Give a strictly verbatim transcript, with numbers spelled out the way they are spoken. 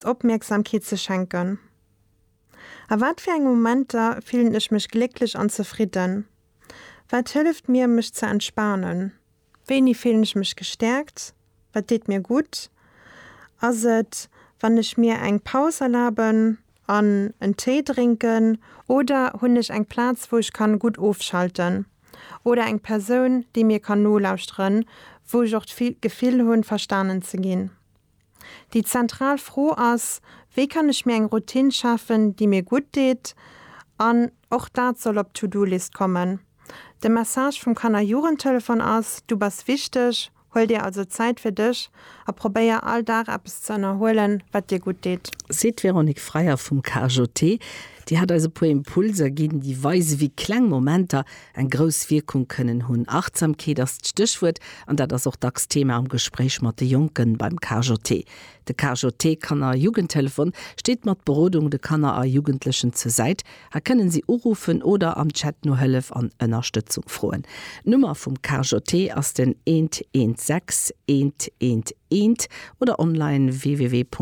Opmierksamkeet ze schenken? A wat fir enge Momenter fillen ech mech glécklech an zefridden? Wat hëlleft mir, mech ze entspanen? Wéini fillen ech mech gestäerkt? Wat deet mir gutt? Ass et, wann ech mir eng Paus erlaben an en Téi drénken oder hunn ech eng Plaz, wou ech kann gutt ofschalten? Oder eng Persoun, déi mir kann nolauschteren, wou ech och d'Gefill hunn, verstanen ze ginn? Déi zentral Fro ass, Wéi kann ech mir eng Routine schafen, déi mir gutt deet? An och dat soll op d'To-Do-List kommen. De Message vum Kanner-Jugendtelefon ass, Du bass wichteg, huel dir also Zäit fir dech a probéier all Dag eppes ze ënnerhuelen, wat dir gutt deet. Seet d'Véronique Freyer vum KJT. Déi hat eis e puer Impulser ginn, déi weise wéi kleng Momenter eng grouss Wierkung kënnen hunn. Achtsamkeet ass d'Stéchwuert an dat ass och dacks Thema am Gespréich mat de Jonken beim KJT. De KJT Kanner Jugendtelefon steet mat Berodung de Kanner a Jugendlechen zur Säit. Hei kënnen si uruffen oder am Chat no Hëllef an Ënnerstëtzung froen. D'Nummer vum KJT ass den eent eent sechs eent eent eent oder online www.kjt.lu.